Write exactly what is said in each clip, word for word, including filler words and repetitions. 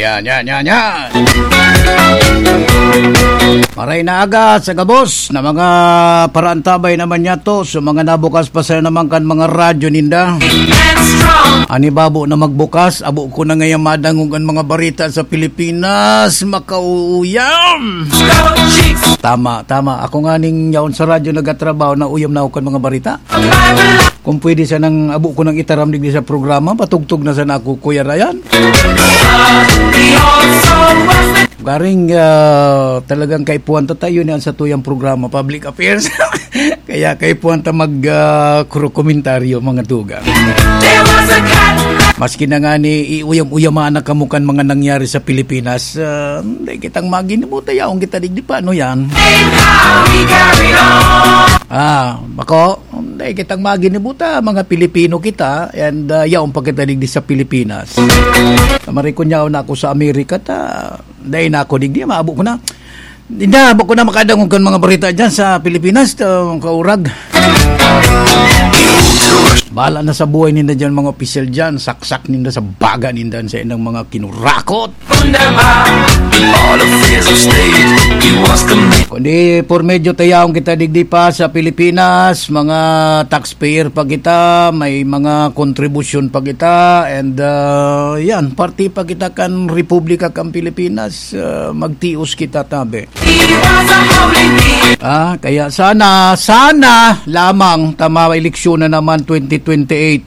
Yan, yan, yan, yan. Maray na aga sa gabos na mga paraantabay naman niya to. So, mga nabukas pa sa naman kan mga radyo ninda. Ani babo na magbukas, abo ko na ngayon madangog ang mga barita sa Pilipinas. Makauyam! Tama, tama. Ako nga ning yaon sa radyo nagatrabaho, nauyam na ako kan mga barita. Kung pwede sanang abo ko nang itaram digdi sa programa, patugtog na sana ako, Kuya Ryan. Garing, ah, talagang kaipuhan ta tayo niyan sa tuyang programa, Public Affairs. Kaya kaipuhan ta mag, ah, kuro-, komentaryo, mga tugang. Maski na nga ni iuyam-uyaman na kamo kan mga nangyari sa Pilipinas, ah, hindi kitang maginibuta, yaong kita digdi pa, ano yan? Ah, bako, dai kitang maginibuta, mga Pilipino kita, and, ah, yaon pa kita digdi sa Pilipinas. Marikon niya na ako sa Amerika, ta, dai na ako digdi, maabo ko na. Hindi na, abo ko na makadangog kan mga barita dyan sa Pilipinas, ta, kaurag. Bahala na sa buhay ninda dyan, mga opisyal dyan, saksak ninda sa baga ninda sa inang mga kinurakot. All of his estate, he wants to make Kundi por medyo tayahon kita digdi pa sa Pilipinas, mga taxpayer pa kita, may mga kontribusyon pa kita, and, ah, yan, parte pa kita kan Republika kan Pilipinas, ah, magtios kita tabi. He was a holy man. Ah, kaya sana, sana lamang tama eleksyon na naman twenty twenty-eight.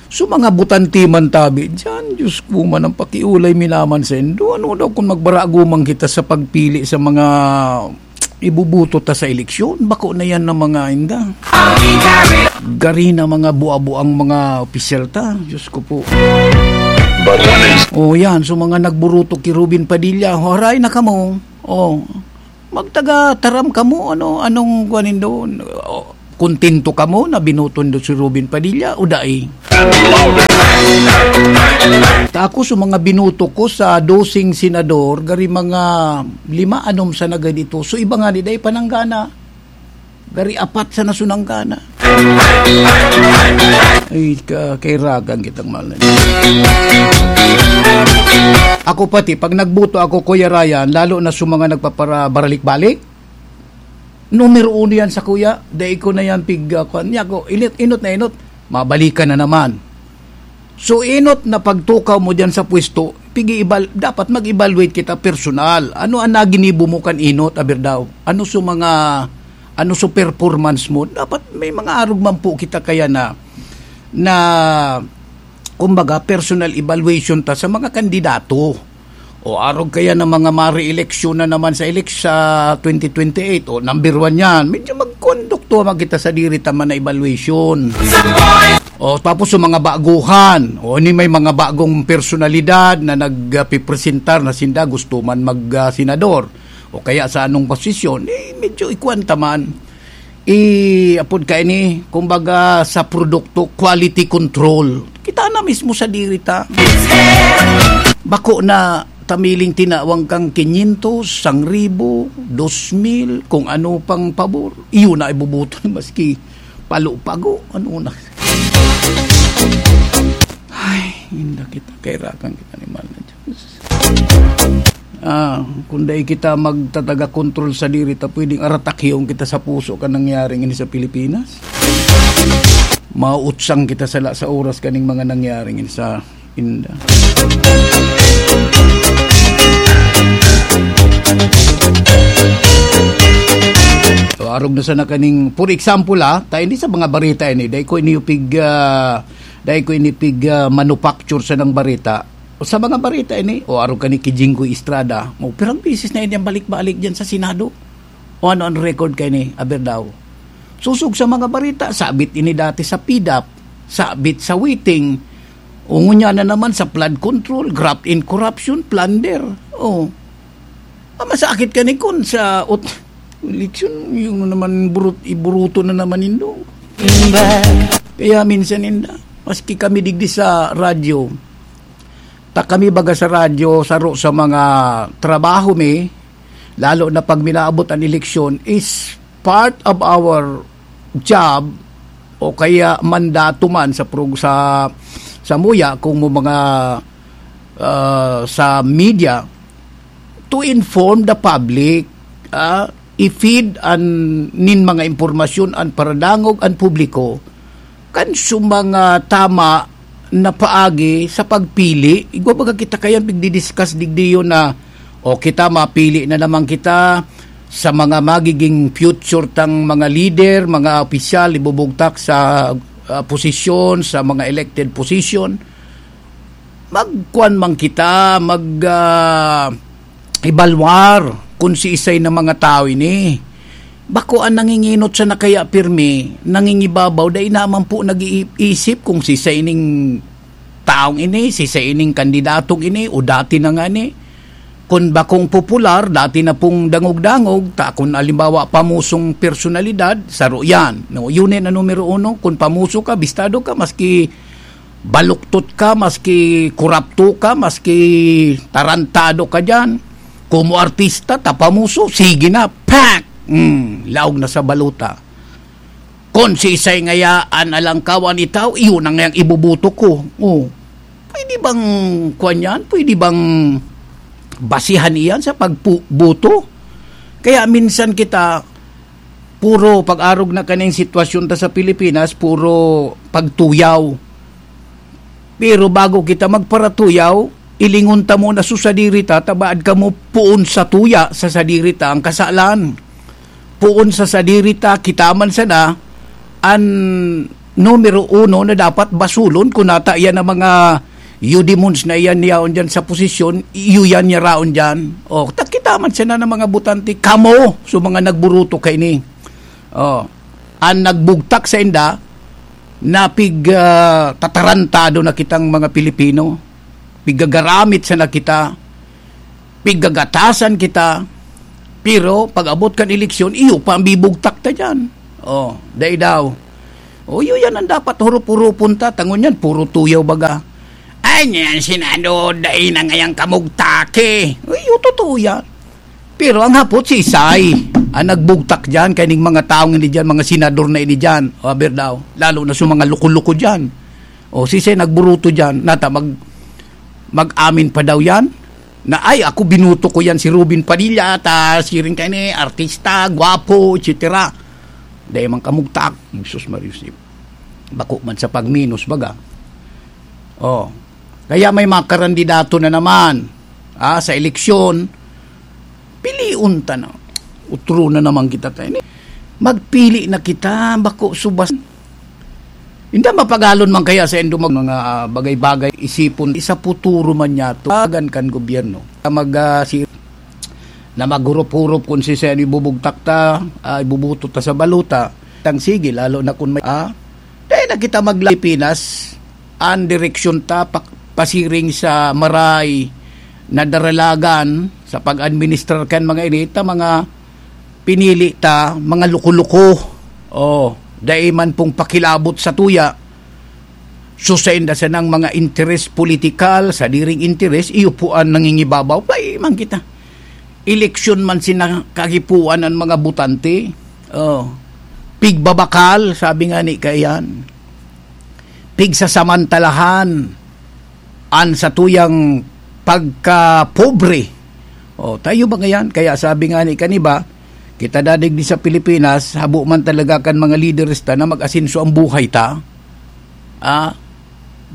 So, mga butante man tabi diyan, Diyos ko man, ang pakiulay mi naman sa indo. Ano daw kung magbaraguman kita sa pagpili sa mga ibubuto ta sa eleksyon? Bako na yan ng mga inda. Gari na mga buabo ang mga opisyal ta. Diyos ko po. Oh, yan. So, mga nagburuto ki Robin Padilla, haray na kamo. Oh. Magtaga taram kamo, ano, anong kuwan nindo? O, kontento kamo na binuto nindo si Robin Padilla o dai? Ta ako, so mga binuto ko sa doseng senador, gari mga lima, anom sa naga dito. So, iba nga ni, dai pananggana. Gari apat sa nasunanggana. Ay, ka-, kairagan kitang mahal na. Ako pati, pag nagboto ako, Kuya Ryan, lalo na sa mga nagpaparabaralik-balik, numero uno yan sa kuya. Dai ko na yan pig, ah, kwan niya ko. Inot, inot na inot. Mabalikan na naman. So, inot na pagtukaw mo diyan sa pwesto, pigi-eval-, dapat mag-evaluate kita personal. Ano ang naginibo mo kan inot, aber daw? Ano sa mga, ano sa performance mo? Dapat may mga arog man po kita kaya na, na, kumbaga, personal evaluation ta sa mga kandidato. O arog kaya ng mga mare-eleksyon na naman sa elek-, sa twenty twenty-eight, o number one yan, medyo magkondukto man kita sa diri ta man na evaluation. O tapos sa mga baguhan, o ni may mga bagong personalidad na nagpipresentar na sinda gusto man mag, ah, senador, o kaya sa anong posisyon, eh, medyo ikuwan ta man. I, apod kaini, kumbaga, sa produkto, quality control. Kita na mismo sa diri ta. Bako na tamiling tinawang kang kinyentos, sangribo, dos mil, kung ano pang pabor. Iyo na ibubuto, maski palo-pago, ano na. Ay, inda kita, kairakan kita ni Mahal na Diyos. Ah, kung dai kita magtataga kontrol sa diri ta, pwedeng aratakyong kita sa puso kan nangyaring ini sa Pilipinas. Mautsang kita sala sa oras kaning mga nangyaring ini sa inda. So, arog na sana kaning, for example, ah, ta hindi sa mga barita ini, dai ko ini pig, ah, dai ko ini pig, ah, manufacture sa nang barita. O sa mga barita ini, o arog ka ni ki Jinggoy Estrada, mo pirang bisis na yan balik-balik dyan sa Senado. O ano ang record kayo ni Aberdao? Susog sa mga barita, sabit ini dati sa pidap, sabit sa waiting, o ngunya na naman sa flood control, graft and corruption, plunder. Oh. Ah, masakit ka ni kun sa ot-, eleksyon, yung naman burut-, iburuto na naman indo. Kaya minsan inda, maski kami digdi sa radyo, ta kami baga sa radyo, saro sa mga trabaho mi, lalo na pag minaabot ang eleksyon, is part of our job o kaya mandato man sa prog-, sa, sa muya, kung mo mga, ah, sa media to inform the public, ah, i-feed an, nin mga impormasyon an paradangog, an publiko, kan sa mga tama na paagi sa pagpili. Igwa baga kita kayan pigdi-discuss digdi yun na, o kita, mapili na naman kita sa mga magiging future tang mga leader, mga opisyal, ibubugtak sa, ah, posisyon, sa mga elected position. Magkuan man kita, mag, ah, ebalwar kun siisay na mga tawo ini. Bako an nanginginot sa nakaya pirmi, nangingibabaw, dai naman po nag-iisip kung siisay ining taong ini, siisay ining kandidatong ini, o dati na nga ni. Kun bakong popular, dati na pong dangog-dangog, ta kun alimbawa, pamusong personalidad, saro yan. No, yun na numero uno, kun pamuso ka, bistado ka, maski baluktot ka, maski kurapto ka, maski tarantado ka diyan, komo artista, ta pamuso, sige na, pak! Hmm, laog na sa balota. Kun siisay ngaya an alangkawan itaw, iyon ang ngayang iboboto ko. Oh. Pwede bang kuwan yan? Pwede bang basihan iyan sa pagboto? Kaya minsan kita, puro pag-arog na kaning sitwasyon ta sa Pilipinas, puro pagtuyaw. Pero bago kita magparatuyaw, ilingon ta muna sa sadiri ta, ta baad kamo poon sa tuya sa sadiri ta ang kasalan. Poon sa sadiri ta, kita man sana, an numero uno na dapat basulon, kun nata iyan ang mga Eudemons na iyan yaon diyan sa posisyon, iyo yan niya raon diyan. O, ta kita man sana ng mga botante, kamo, so mga nagburuto kaini. O, an nagbugtak sa inda, na pig, ah, tatarantado na kitang mga Pilipino. Pigagaramit sana kita. Pigagatasan kita. Pero pag-abot kan eleksyon, iyo pa ang bibugtak ta diyan. O, dai daw. O, iyo yan ang dapat hurup-hurupon ta. Tangon yan, puro tuyaw baga. Ay, niyan, Senado, dai na ngayang kamugtaki. O, iyo, totoo yan. Pero ang hapot, siisay an nagbugtak diyan, kaining mga taong ini diyan, mga senador na ini diyan. O, aber daw, lalo na sa mga loko-loko diyan. O, siisay nagburuto diyan, nata mag-, mag-amin pa daw yan, na, "Ay, ako, binuto ko yan, si Robin Padilla, ta siring kaini, artista, gwapo, et cetera." Dai man kamugtak, Jesus Maria Joseph. Bako man sa pagminos, baga. O, kaya may mga karandidato na naman, ah, sa eleksyon, pilion ta na. Utro na naman kita tayo. Magpili na kita, bako subas. Hindi mapagalon man kaya sa indo mag-, mga, ah, bagay-bagay, isipon, isa puturo man niya to, agan kan gobyerno. Mag, ah, si, na maghurup-hurup kung si Sen ibubugtak ta, ah, ibubuto ta sa baluta. Tang sige, lalo na kung may, ah, dahil na kita magla-, Pilipinas, ang direksyon ta, pa-, pasiring sa maray na daralagan sa pag-administrar kan mga ini, ta mga pinili ta, mga luko-luko. O, dai man pong pakilabot sa tuya. So, sa inda sanang mga interes politikal, sadiring interes, iyo po ang nangingibabaw. Bay, man kita. Eleksyon man sina kagipuan ang mga botante. O, pigbabakal, sabi nga ni Kayan. Pigsasamantalahan an satuyang pagkapobre. O, tayo ba ngayan? Kaya sabi nga ni kaniba, kita dadig di sa Pilipinas, habo man talaga kan mga leaders ta na mag-asenso ang buhay ta. Ah,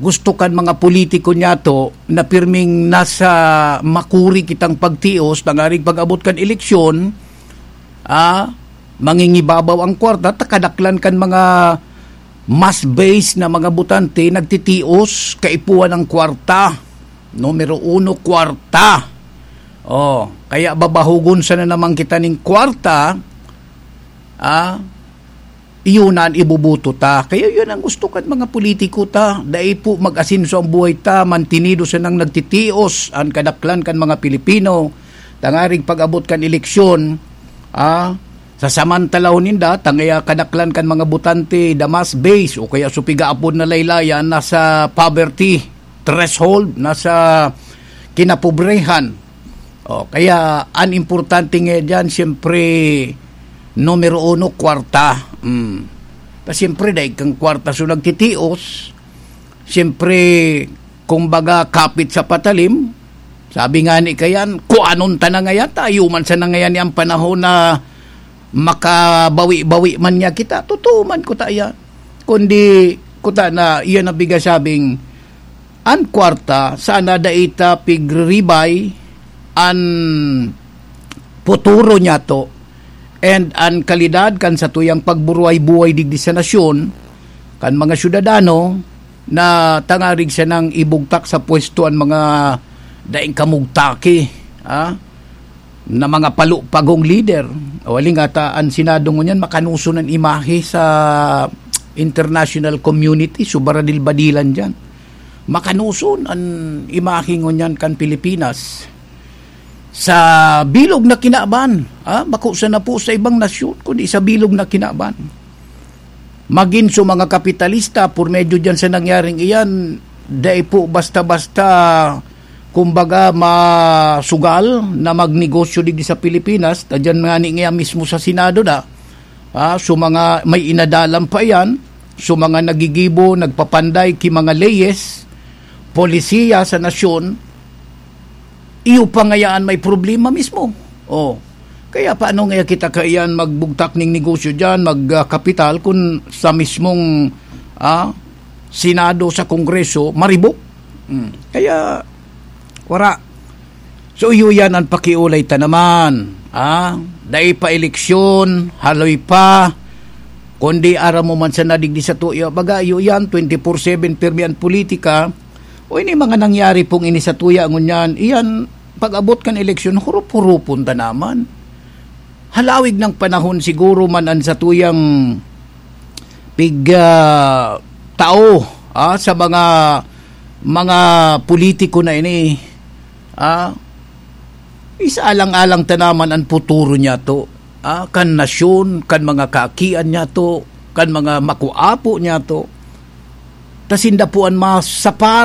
gusto kan mga politiko niyato na pirming nasa makuri kitang pagtios, tangaring pag-abot kan eleksyon, ah, mangingibabaw ang kwarta, ta kadaklan kan mga mass base na mga botante nagtitios, kaipuhan ng kwarta. Numero uno, kwarta. O, kaya babahugon sana naman kita ning kwarta, ah, iyon na an iboboto ta. Kaya yun ang gusto kan mga politiko ta. Dai po mag-asenso ang buhay ta, mantinido sanang nagtitios an kadaklan kan mga Pilipino. Tangaring pag-abot kan eleksyon, ah, sasamantalahon ninda, tangaya kadaklan kan mga botante, the mass base, o kaya sa pigaapod na laylayan, nasa poverty threshold, nasa kinapobrehan. O, kaya an importante nga diyan, siyempre, numero uno, kwarta. Mm. Ta siyempre, dahil kang kwarta so nagtitios, siyempre, kumbaga, kapit sa patalim. Sabi nga ni kayan, "Kuanon ta na ngayan, tayo man sa nangayan niyang panahon na makabawi-bawi man niya kita." Totoo man kuta yan. Kundi, kuta na, iyan ang bigasabing, an kwarta, sana dai ta pigriribay an futuro niyato and an kalidad kan satuyang pagburuhay-buhay digdi sa nasyon, kan mga syudadano na tangarig sanang ibugtak sa pwesto an mga daing kamugtaki, ah, na mga palupagong lider. O, hali nga ta, an Senado ngunyan, makanoson an imahe sa international community, subaradil-badilan diyan. Makanoson an imahe ngunyan kan Pilipinas sa bilog na kinaban, ah, bako sana po sa ibang nasyon, kundi sa bilog na kinaban. Magin so mga kapitalista, por medyo diyan sa nangyaring iyan, dai po basta-basta, kumbaga, masugal na magnegosyo digdi sa Pilipinas, ta diyan nga ni, nga mismo sa Senado na, ah, so mga may inadalan pa iyan, so mga nagigibo, nagpapanday ki mga leyes, polisiya sa nasyon, iyo pa ngayaan may problema mismo. Oh. Kaya paano nga kita kaiyan magbugtak ning negosyo diyan, magkapital, kun sa mismong, ah, Senado, sa Kongreso, maribok? Hmm. Kaya, wara. So, iyo yan ang pakiulay ta naman. Ah, dai pa eleksyon, haloy pa. Kundi aram mo man sa nadigdi sa tuyo. Baga, iyo yan, twenty-four seven pirmi ang politika. O ini mga nangyari pong ini sa tuya, ngunyan, iyan, pag-abot kan eleksyon, hurup-hurupon ta naman. Halawig ng panahon siguro man an satuyang pig, ah, tao, ah, sa mga, mga politiko na ini, ah, isaalang-alang ta naman an futuro niyato, ah, kan nasyon, kan mga kaakian niyato, kan mga makuapo niyato. Ta sinda po an masapar